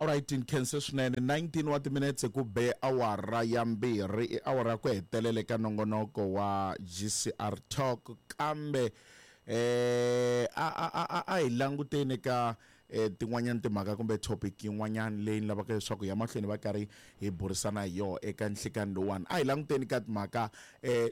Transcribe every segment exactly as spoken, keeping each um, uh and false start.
Alright, nkhense swinene. nineteen wa timinetse ku be awara ya mbirhi, i awara ya ku hetelela eka nongonoko wa G C R Talk. Kambe eh a a a a hi languteni ka eh, tin'wanyana timhaka kumbe topic yin'wanyana leyi ni lavaka leswaku ya mahlweni va karhi hi burisana hi yona eka nhlikani lowuwani. A hi languteni ka timhaka eh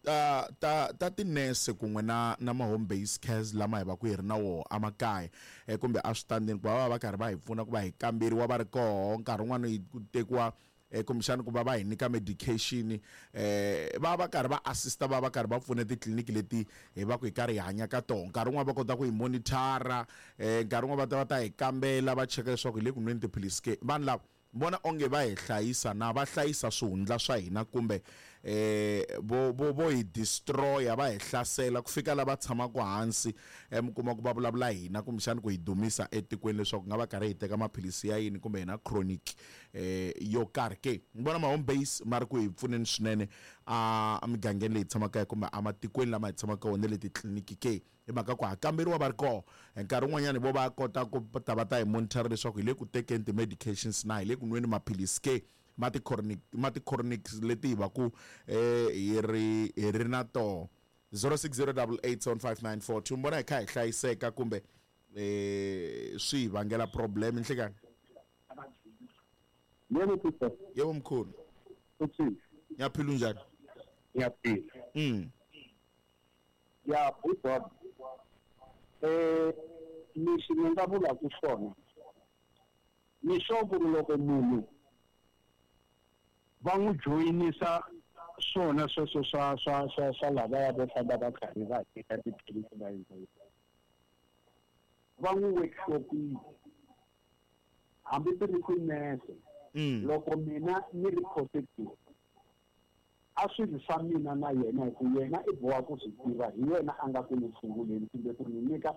ta ta ta tinese kun'we na na ma home based cares lama hi va ku hi ri na woho emakaya eh, kumbe eswitandini, ku va va va karhi va hi pfuna ku va hi kamberiwa va ri koho nkarhi wun'wani hi ku tekiwa eh, kumbexana ku va va hi nyika medication, eh, va va karhi va assista, va va karhi va pfuna titliliniki leti hi va ku hi karhi hi hanya ka tona. Nkarhi wun'wani va kota ku hi monitor-a, eh, nkarhi wun'wani va ta va ta hi kambela, va cheka leswaku hi le ku nweni tiphilisi ke. Vanhu lava vona onge va hi hlayisa na va hlayisa swihundla swa hina, kumbe eh vo vo vo hi destroy-a, va hi hlasela ku fika lava tshamaka hansi, eh, mi kuma ku va vulavula hina kumbexana ku hi dumisa etikweni leswaku nga va karhi hi teka maphilisi ya yini kumbe hi na chronic eh yo karhi ke? Ni vona ma home base ma ri ku hi pfuneni swinene a emigangeni leyi tshamaka kumbe ematikweni lama hi tshamaka wona, le titliliniki ke, hi mhaka ku ha kamberiwa va ri koho. Nkarhi wun'wanyani vo va kota ku ta va ta hi monitor leswaku hi le ku tekeni ti-medications na hi le ku nweni maphilisi ke, ma ti-chronic ma ti-chronic leti hi va ku eh hi ri hi ri na toho. zero six zero eight eight seven five nine four two. Mbona hi kha hi hlayiseka kumbe eh swi hi vangela problem nhlikani? Yebo, Peter. Yebo, mkhulu. Uthini? Ngiyaphila, unjani? Ngiyaphila. mm Ya, bhuti, eh lexi ni nga vulaka swona, ni sure ku ri loko munhu va n'wi joyinisa swona sweswo swa swa swa swa lavaya vo famba va karhi va teka tiphilisi, va endla va n'wi workshopile, hambi ti ri tinese. Mm loko mina ni ri positive, a swi ri swa mina na yena, hi ku yena i boha ku swi tiva, hi yena a nga ku ni tshunguleni kumbe ku ni nyika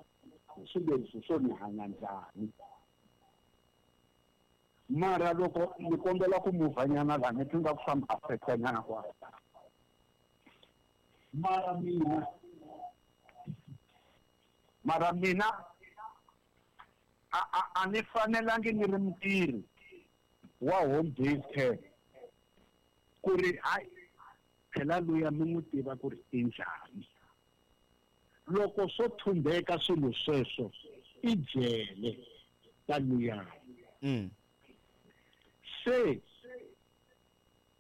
swileriso swo ni hanya njhani. Mara loko ni kombela ku muvhanyana laha, ni twi nga ku swa mi affecta nyana kwala. Mara mina mara mina a a a ni fanelangi ni ri mutirhi wa home based care ku ri hayi, phela luya mi n'wi tiva ku ri i njhani. Loko swo thumbeka swilo sweswo, i jele ka luyani. mm Se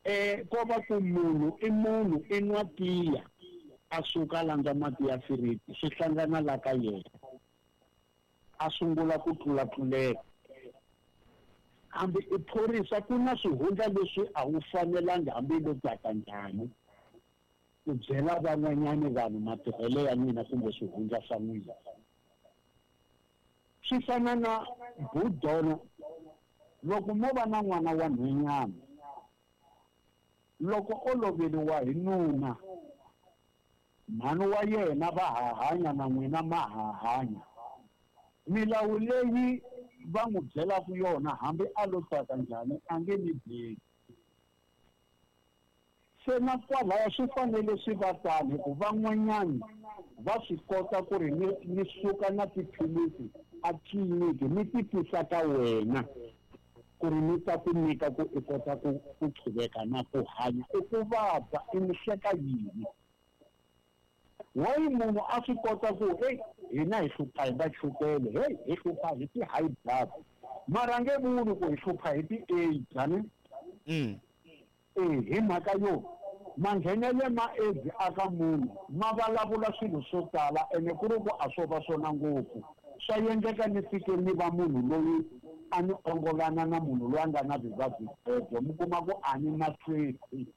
eh ko va ku munhu i munhu, i nwa tiya, a suka a landza mati ya firiji, swi hlangana la ka yena, a sungula ku tlulatlulela. Hambi i phorisa, ku na swihundla leswi a wu fanelangi, hambi lo tsaka njhani, ku byela van'wanyani vanhu matirhelo ya n'wina kumbe swihundla swa n'wina. Swi fana na budona, loko mo va na n'wana wa nhwenyana, loko o loveriwa hi nuna, mhani wa yena va ha hanya na n'wina ma ha hanya, milawu leyi va n'wi byelaka yona, hambi a lo tsaka njhani, a nge mi byeli. Se na kwalaya swi fanele swi va tano, hi ku van'wanyani va swi kota ku ri ni ni suka na tiphilisi a tliliniki, ni ti tisa ka wena ku ri ni ta ku nyika ku i kota ku ku qhuveka na ku hanya. I ku vabya, i ni hleka yini? Wayi munhu a swi kota ku hey, hina hi hlupha hi va chukele, hey, hi hlupha hi ti-high blood, mara nge vuli ku hi hlupha hi ti-AIDS ani. mm Eh, hi mhaka yo manghenele ma AIDS aka munhu ma vulavula swilo swo tala, ene ku ri ku a swo va swona ngopfu, swa endleka ni fike ni va munhu loyi a ni ongolana na munhu loyi a nga na vuvabyi byebyo, mi kuma ku a ni na safety,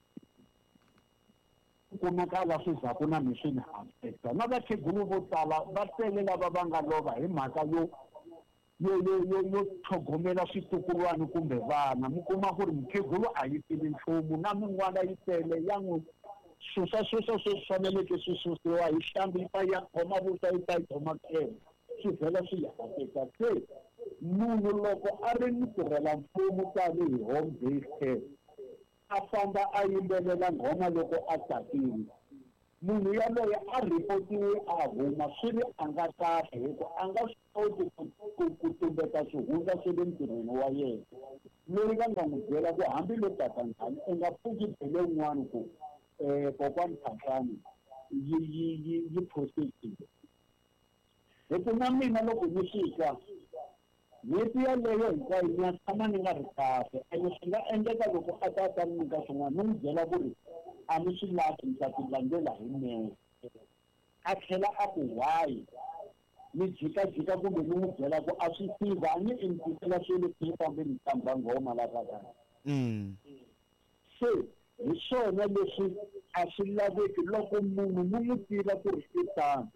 kumeka la swi zaku na mi swi ni affecta. Na vakhegulu vo tala va tele lava va nga lova hi mhaka yo yo yo yo yo tlhogomela switukulwana kumbe vana. Mi kuma ku ri mukhegulu a yi tivi nchumu, na min'wana yi tele ya n'wi susa susa sweswi faneleke swi susiwa hi hlambi, yi ta ya khoma vuswa, yi ta yi khoma khele, swi vhela swi ya affecta. Se munhu loko a ri mutirhela mfumo tanihi home based care, a famba a yimbelela nghoma loko a tsakile. Munhu yaloye a ripotiwe a huma swi ri a nga kahle hi ku a nga swi koti ku ku tumbeta swihundla swa le ntirhweni wa yena. Loyi va nga n'wi byela ku hambi lo tata njhani u nga pfuki byele un'wana ku um kokwani Phahlane yi yi yi yi positive. Hi ku na mina loko ni swi twa n'hweti yaleyo hinkwayo ni ya tshama ni nga ri kahle ene swi nga endleka loko a ta ta ni nyika swin'wana ni n'wi byela ku ri a ni swi lavi ni ta ti landzela hi nexe. A tlhela a ku why ni jikajika kumbe ni n'wi byela ku a swi tiva a ni i ni tisela swilo ni fambe ni tamba nghoma la ka kaya. Se hi swona leswi a swi laveki loko munhu mi n'wi tiva ku ri i tano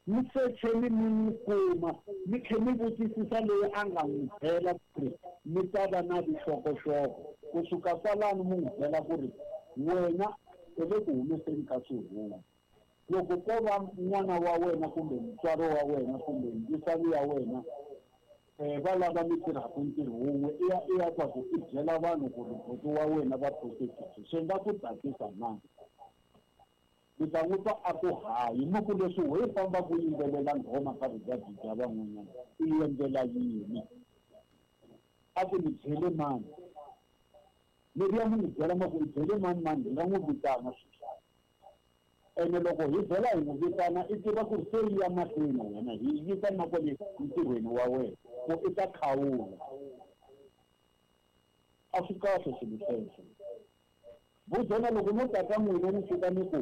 mi secheni mi n'wi kuma mi tlhe mi vutisisa loyi a nga n'wi byela ku ri mi ta va na vuxokoxoko kusuka kwalano mi n'wi byela ku ri wena u le ku humeseni ka swihundla. Loko ko va n'wana wa wena kumbe mutswari wa wena kumbe ndzisani ya wena um va lava mi tirhaka ntirho wun'we i ya i ya twa ku i byela vanhu ku ri buti wa wena va positive swi nga ku tsakisa na? Mi ta n'wi twa a ku hayi mi ku leswi ho famba ku yimbelela nghoma ka vuvabyi bya van'wanyana i endlela yini? A ku ni byele mani? Leriya mi n'wi byela ma ku i byele mani mani hi nga n'wi vitana sweswi. Ene loko hi vhela hi n'wi vitana i tiva ku ri se yi ya mahlweni wena hi yisa na kwale ntirhweni wa wena ku i ta khawula. A swi kahle swilo sweswo. Vuzona loko no ta ka n'wina ni fika ni ku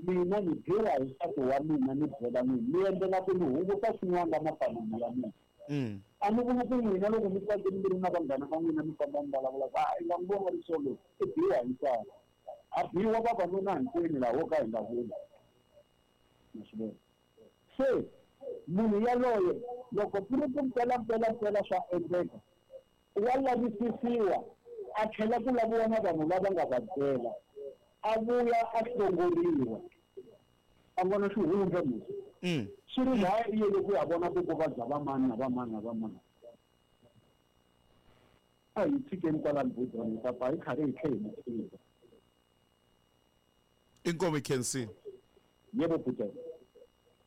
mina ni biwa hi nsati wa mina ni byela n'wina ni endlela ku ni hunguta swin'wana la mafamili ya mina. A ni voni ku n'wina loko mi tsakile mi ri na vanghana va n'wina mi famba mi vulavula ku a i nga n'wi vona ri solo i biwa hi nsati. A biwa vavanuna hinkwenu laha wo ka hi nga vuli. Ma swi vona? Se munhu yaloye loko ku ri ku mpelampela mpela swa endleka wa lavisisiwa a tlhela ku laviwa na vanhu lava nga va byela a vuya a hlongoriwa a vona xihundla musi swi ri laya i yele ku ya vona ku ku vabya va mani na va mani na va mani. A hi tshikeni kwalani budzani hi ta pfa hi karhi hi tlhe hi mi tiva. Inkomu Khensi. Yebo bhuti.